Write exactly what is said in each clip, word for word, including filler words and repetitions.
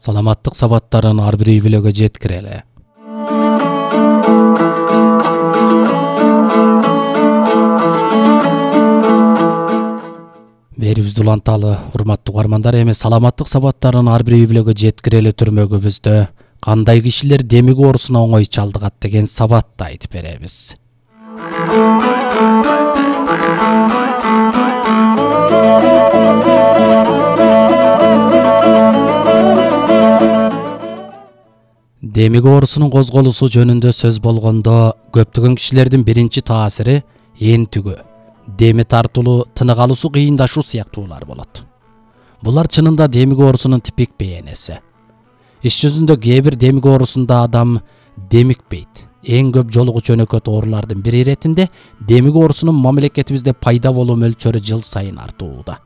Саламаттык сабаттарын ар бир үй бүлөгө жеткирели. Берибизди уланталы, урматтуу угармандар, эми саламаттык сабаттарын ар бир үй бүлөгө жеткирели түрмөгүбүздө кандай кишилер демик оорусуна оңой чалдыгат деген сабатты айтып беребиз. Демик оорусунун козголусу жөнүндө сөз болгондо көптөгөн кишилердин биринчи таасири энтүгүү, деми тартылуу, тынык алуусу кыйындашуу сыяктуулар болот. Булар чынында демик оорусунун типик бейнеси. Иш жүзүндө кээ бир демик оорусунда адам демикпейт. Эң көп жолугучу өнөкөт оорулардын бири иретинде демик оорусунун мамлекетибизде пайда болуу мөлчөрү жыл сайын артууда.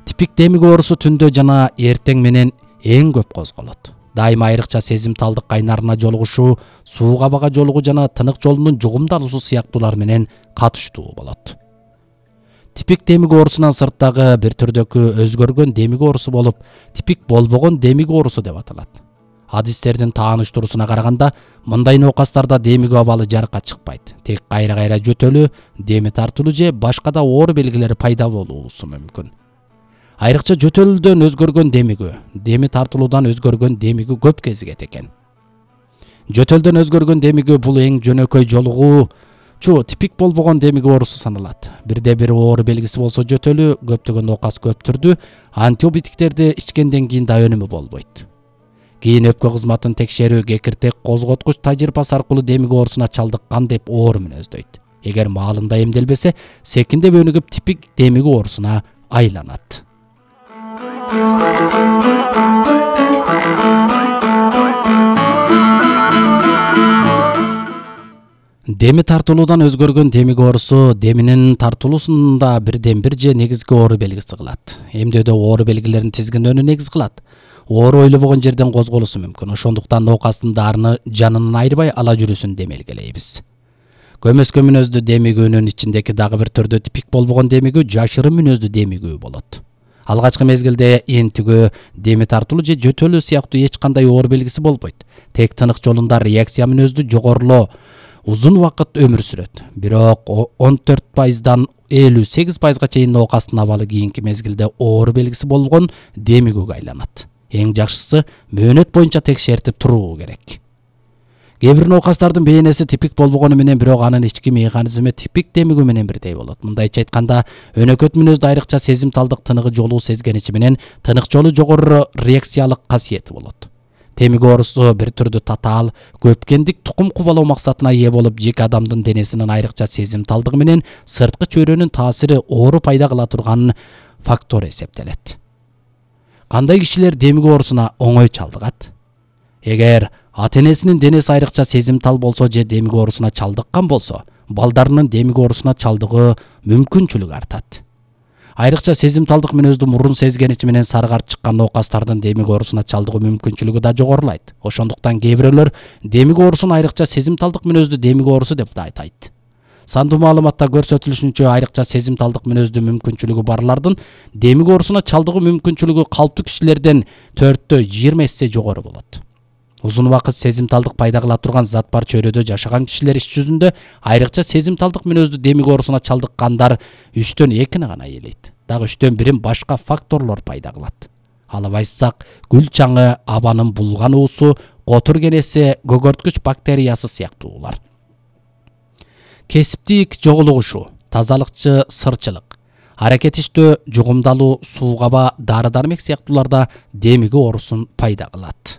Типик демик оорусу түндө жана эртең менен эң көп козголот. Дайыма айрыкча сезимталдык кайнарына жолугушуу, сууга бага жолугуу жана тынык жолунун жугумдалуусу сыяктуулар менен катыштуу болот. Типик демик оорусунан сырттагы бир түрдөгү өзгөргөн демик оорусу болуп, типик болбогон демик оорусу деп аталат. Адистердин тааныштыруусуна караганда, мындай нокастарда демик абалы жарыкка чыкпайт. Тек кайра-кайра жөтөлүү, деми тартылуу же башка да оору белгилери пайда болуусу мүмкүн. Айрыкча жөтөлүүдөн өзгөргөн демигүү, деми тартылуудан өзгөргөн демигүү көп кезигет экен. Жөтөлдөн өзгөргөн демигүү бул эң жөнөкөй жолугуучу типик болбогон демик оорусу саналат. Бирде бир оору белгиси болсо жөтөлүү, көптөгөн нокас көп түрдүү антибиотиктерди ичкенден кийин да өнүмү болбойт. Кийин өпкө кызматын текшерүү, кекиртек козготкуч тажрыйбасы аркылуу демик оорусуна чалдыккан деп оору мүнөздөйт. Эгер маалында эмделбесе, секиндеп өнүгүп типик демик оорусуна айланат. Деми тартылуудан өзгөргөн демик оорусу деминин тартылуусунда бирден бир же негизги оору белгиси кылат. Эмдөөдө оору белгилерин тизгиндөөнү негиз кылат. Оору ойлобогон жерден козголуусу мүмкүн. Ошондуктан нокастын дарыны жанынан айрбай ала жүрүүсүн демелгелейбиз. Көмөскө мүнөздүү демигүүнүн ичиндеги дагы бир түрдүү типик болбогон демигүү жашырын мүнөздүү демигүү болот. Алгачкы мезгилде энтүгүү, деми тартылуу же жөтөлүү сыяктуу эч кандай оору белгиси болбойт. Тек тынык жолунда реакция мүнөздүү жогорулоо узун убакыт өмүр сүрөт. Бирок он төрт пайыздан элүү сегиз пайызга чейин нокастын абалы кийинки мезгилде оору белгиси болгон демигүүгө айланат. Эң жакшысы мөөнөт боюнча текшертип туруу керек. Кээ бир нокастардын бейнеси типик болбогону менен бирок анын ички механизми типик демигүү менен бирдей болот. Мындайча айтканда, өнөкөт мүнөздө айрыкча сезимталдык тыныгы жолуу сезгеничи менен тынык жолу жогору реакциялык касиети болот. Демик оорусу бир түрдүү татаал, көпкендик тукум кубалоо максатына ээ болуп, жеке адамдын денесинин айрыкча сезимталдыгы менен сырткы чөйрөнүн таасири оору пайда кыла турган фактор эсептелет. Кандай кишилер демик оорусуна оңой чалдыгат? Эгер ата-энесинин денеси айрыкча сезимтал болсо же демик оорусуна чалдыккан болсо, балдарынын демик оорусуна чалдыгуу мүмкүнчүлүгү артат. Айрыкча сезимталдык мүнөздүү мурун сезгеничи менен сары карт чыккан нокастардын демик оорусуна чалдыгуу мүмкүнчүлүгү да жогорулайт. Ошондуктан кээ бирөөлөр демик оорусун айрыкча сезимталдык мүнөздүү демик оорусу деп да айтайт. Сандуу маалыматта көрсөтүлүшүнчө, айрыкча сезимталдык мүнөздүү мүмкүнчүлүгү барлардын демик оорусуна чалдыгуу мүмкүнчүлүгү калптуу кишилерден төрттө жыйырма эсе жогору болот. Узун убакыт сезимталдык пайда кыла турган зат бар чөйрөдө жашаган кишилер иш жүзүндө айрыкча сезимталдык мүнөздүү демик оорусуна чалдыккандар үчтөн экини гана ээлейт. Дагы үчтөн бирин башка факторлор пайда кылат. Алып айтсак, гүл чаңы, абанын булган уусу, котур кенеси, көгөрткүч бактериясы сыяктуулар. Кесиптик жогулугушуу, тазалыкчы сырчылык, аракетиштөө, жугумдалуу, суугаба, дары-дармек сыяктууларда демик оорусун пайда кылат.